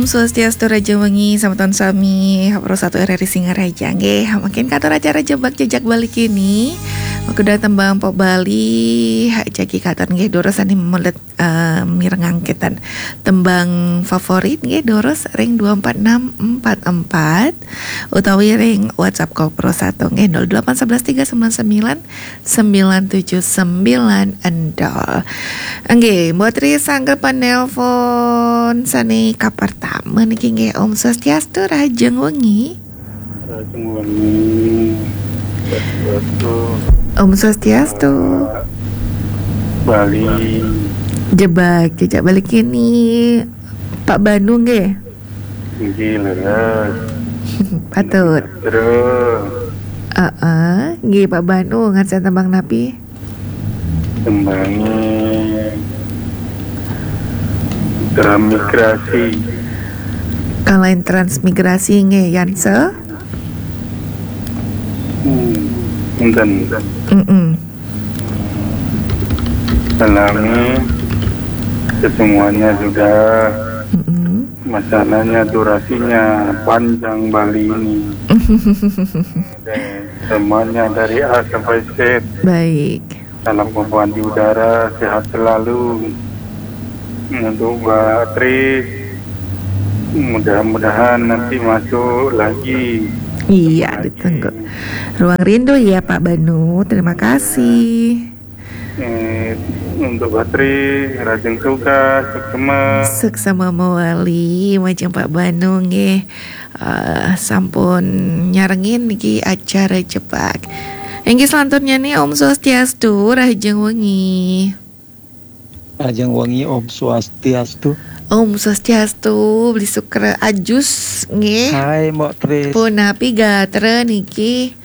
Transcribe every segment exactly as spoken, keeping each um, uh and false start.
Swastiastu, rahajeng wengi, semeton sami, Pro Satu R R I Singaraja nggih. Mangkin katur acara Jebak Jejak Bali kini. Mangda tembang pop Bali, jagi katur nggih, durus sane melet, eh, mirengang kinten tembang favorit nggih, durus ring dua empat enam empat empat utawi ring WhatsApp Ko Pro Satu nggih, nol delapan sebelas tiga sembilan sembilan sembilan tujuh sembilan nol. Nggih, Mbok Tri sanggepan nelpon sane kapertama niki nggih. Om Swastiastu, rahajeng wengi. Rahajeng wengi. Swastiastu. Om Swastiastu. Bali. Jebak Jejak Bali kini, Pak Banu nggih. Nggih, leres. Patut. Terus. Heeh, nggih Pak Banu, ngarsa tembang napi? Tembange transmigrasi. Kalain transmigrasi nggih, Yanse? Hmm, enten. Mm-mm. Dalamnya semuanya sudah. Mm-mm. Masalahnya durasinya panjang Bali ini. Semuanya dari A sampai Z. Baik. Salam kompoan di udara, sehat selalu. Untuk Mbak Tri, mudah-mudahan nanti masuk lagi. Iya, ditunggu. Ruang rindu ya Pak Banu, terima kasih. Eh, untuk Mbak Tri, rahajeng tugas, suksma. Suksma mawali, majeng Pak Banu nggih. Eh, sampun nyarengin niki acara Jebak. Inggih, selanjutnya nih, Om Swastiastu, rahajeng wengi. Rahajeng wengi, Om Swastiastu. Om Swastiastu, Bli Sukra Ajus nggih. Hai, Mbok Tris. Punapi gatra niki?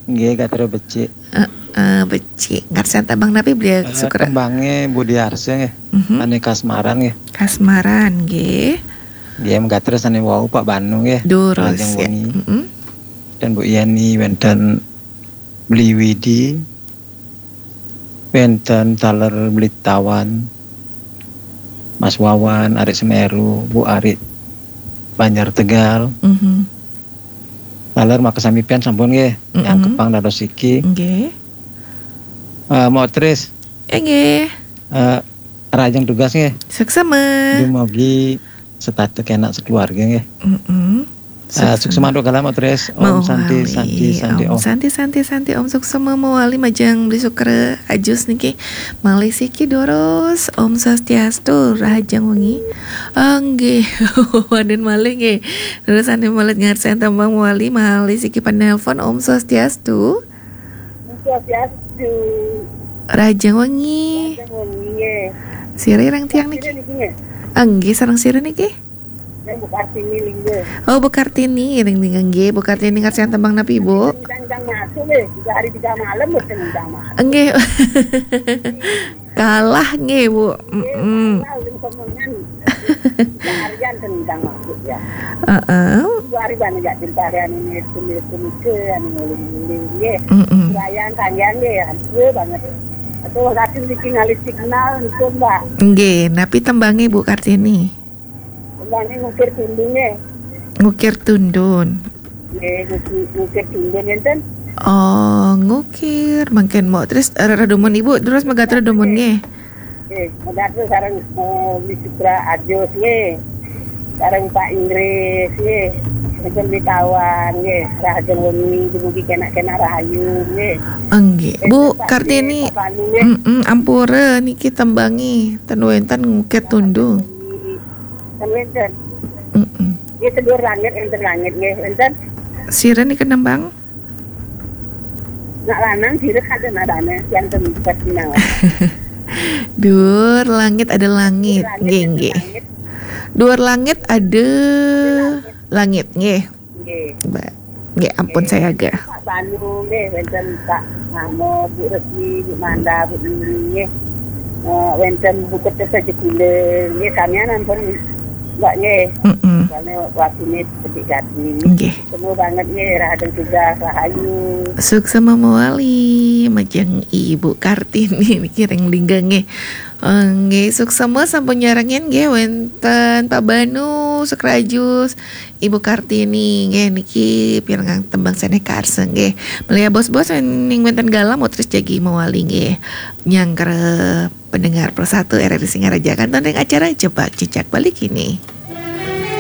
Nggih, gatra becik. Heeh, becik. Ngarsa tembang napi, Bli Sukra? Tembange Budi Arsa nggih. Mhm. Ane Kasmaran nggih. Kasmaran nggih. Nggih, gatra sane wau Pak Banu nggih. Durus, rahajeng wengi. Mm-mm. Dan Bu Yani, wenten Bli Widi, wenten taler Bli Tawan, Mas Wawan, Arik Semeru, Bu Arik Banjar Tegal. Mhm. Taler makasami pian sampun nggih, mm-mm, nyangkepang dados siki. Nggih. Eh, Mbok Tris. Inggih. Eh, rahajeng tugas nggih. Suksma. Dumugi setata kenak sekeluarga nggih. Mm-mm. Eh, suksma. Suksma antuk galah, Mbok Tris. Om Santi, Santi, Santi, Om. Santi, Santi, Santi, Om. Suksma mawali majeng Bli Sukra Ajus niki. Malih siki durus, Om Swastiastu, rahajeng wengi. Ah, nggih, wonten malih nggih. Durus sane melet ngarsa tembang mawali, malih siki penelpon, Om Swastiastu. Om Swastiastu. Rahajeng wengi. Rahajeng wengi nggih. Sira ring tiang niki? Sira niki nggih? Ah, nggih, sareng sira niki? Yang Bu Kartini Lingga. Oh, Bu Kartini, ring Lingga nggih. Bu Kartini ngarsa tembang napi, Bu? Tentang masuk nggih, tiga hari tiga malam mboten tentang masuk. Nggih. Kalah nggih, Bu. Nggih, mm-mm. Kalah ulun somongan. Seharian tentang masuk ya. Heeh. Dua hari banyak jak cerita hari anu ini, anu ini, anu nguling-nguling nggih. Mm-mm. Sayang kalian nggih, ampun banget. Atau lagi bikin alih signal itu, Mbak. Nggih, napi tembange Bu Kartini? Tembange Ngukir Tundun nggih. Ngukir Tundun. Nggih, nguki-, Ngukir Tundun enten. Oh, Ngukir. Mangkin Mbok Tris, eh, reredumun Ibu, terus megatra dumun nggih. Nggih, megatra sareng, eh, Bli Sukra Ajus nggih. Sareng Pak Inggris nggih. Enten Bli Tawan nggih. Rahajeng wengi, dumugi kenak-kenak rahayu nggih. Nggih. Enten Bu Kartini, Pak Banu nggih. Mm-mm, ampura niki tembangi, ten wenten Ngukir Tundun. Kan wenten. Mm-mm. Nggih, sedur langit, enten langit nggih, wenten. Sira niki nembang? Nak lanang sira kada nadane, yang tempat sinau. Duur langit ada langit, nggih, nggih. Duur langit ada langit, nggih. Nggih. Mbak. Nggih, ampun saya agak. Pak Banu nggih, wenten Pak Mamo, Bu Resmi, Bu Manda, Bu Yuli nggih. Eh, wenten Bu Kertas Saja Kula nggih, samian ampun Mbak nggih. Mm-mm. Soalnya waktunya seperti tadi. Nggih. Semua banget nggih, rahajeng tugas, rahayu. Suksma mawali, majeng Ibu Kartini niki ring Lingga nggih. Nggih, suksma sampun nyarengin nggih, wenten Pak Banu, Sekrajus, Ibu Kartini nggih, niki pirengang tembang Seneh Karsa nggih. Melihat bos-bos ning wenten galam, terus jagi mawali nggih. Nyangkra pendengar Pro satu R R I Singaraja, kantun ring acara Jebak Jejak Bali Kini.